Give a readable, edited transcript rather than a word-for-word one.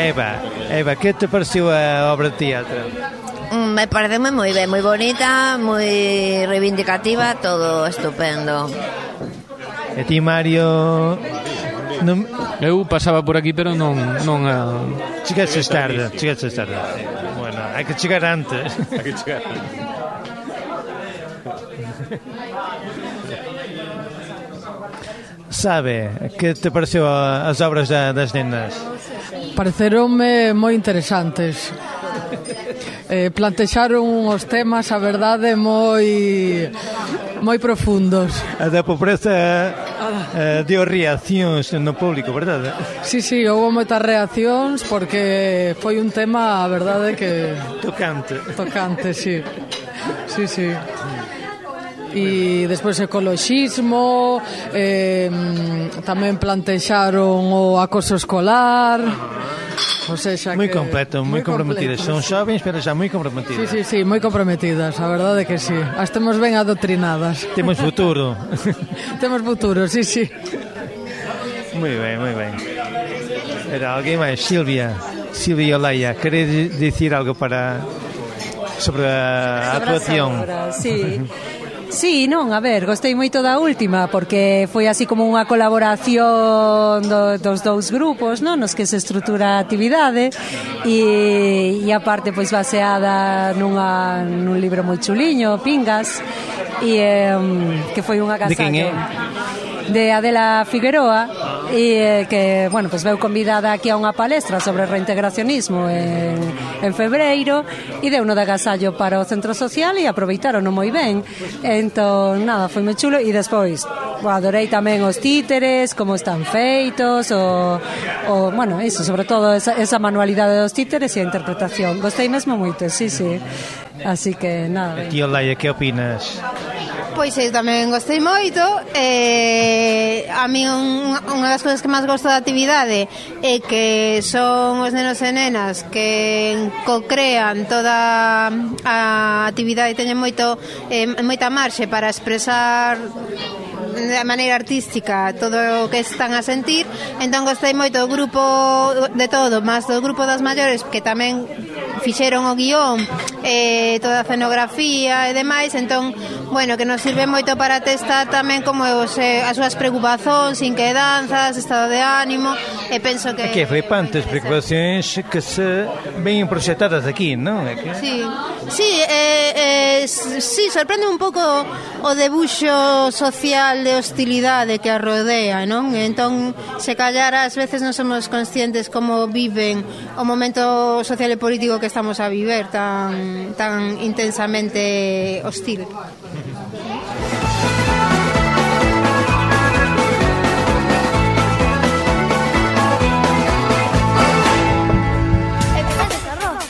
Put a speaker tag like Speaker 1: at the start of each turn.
Speaker 1: Eva, que te pareceu a obra de teatro?
Speaker 2: Me parece moi ben, moi bonita, moi reivindicativa, todo estupendo.
Speaker 1: E ti, Mario?
Speaker 3: Eu pasaba por aquí, pero non
Speaker 1: Chegaste tarde. Bueno, hai que chegar antes. Sabe, que te pareceu as obras das nenas?
Speaker 4: Pareceronme moi interesantes. Plantexaron os temas, a verdade, moi profundos.
Speaker 1: A da pobreza deu reaccións no público, verdade?
Speaker 4: Sí, houve moitas reaccións porque foi un tema, a verdade, que... Tocante, sí. E despois ecoloxismo, tamén plantexaron o acoso escolar... O sea,
Speaker 1: moi completo, moi comprometidas. Son xovens, pero xa moi comprometidas.
Speaker 4: Sí, moi comprometidas, a verdade que sí. As temos ben adoctrinadas.
Speaker 1: Temos futuro.
Speaker 4: Temos futuro, sí.
Speaker 1: Moi ben. Era alguén máis? Silvia e Olaya, queres dicir algo sobre a actuación?
Speaker 5: Sí, non, a ver, gostei moito da última porque foi así como unha colaboración dos dous grupos, non, nos que se estrutura a actividade e aparte pois baseada nun libro moi chuliño, Pingas, e que foi un agasallo.
Speaker 1: De quen é?
Speaker 5: De Adela Figueroa e que, bueno, pues veu convidada aquí a unha palestra sobre reintegracionismo en febreiro e deu no de agasallo para o centro social e aproveitarono moi ben. Entón, nada, foi moi chulo e despois adorei tamén os títeres, como están feitos bueno, iso, sobre todo esa manualidade dos títeres e a interpretación. Gostei mesmo moito, sí. Así que, nada.
Speaker 1: E ti, Olaya, que opinas?
Speaker 6: Pois eu tamén gostei moito. A mí unha das cousas que máis gosto da actividade é que son os nenos e nenas que co-crean toda a actividade e teñen moita marxe para expresar de maneira artística todo o que están a sentir. Entón gostei moito do grupo de todo, máis do grupo das maiores que tamén fixeron o guión, toda a escenografía e demais. Entón, bueno, que nos sirve moito para testar tamén como as súas preocupacións, inquedanzas, estado de ánimo, e penso que...
Speaker 1: Que flipantes preocupacións que se ven proxectadas aquí, non?
Speaker 6: Sí, sorprende un pouco o debuxo social de hostilidade que a rodea, non? Entón, se callar ás veces non somos conscientes como viven o momento social e político que estamos a viver tan intensamente hostil.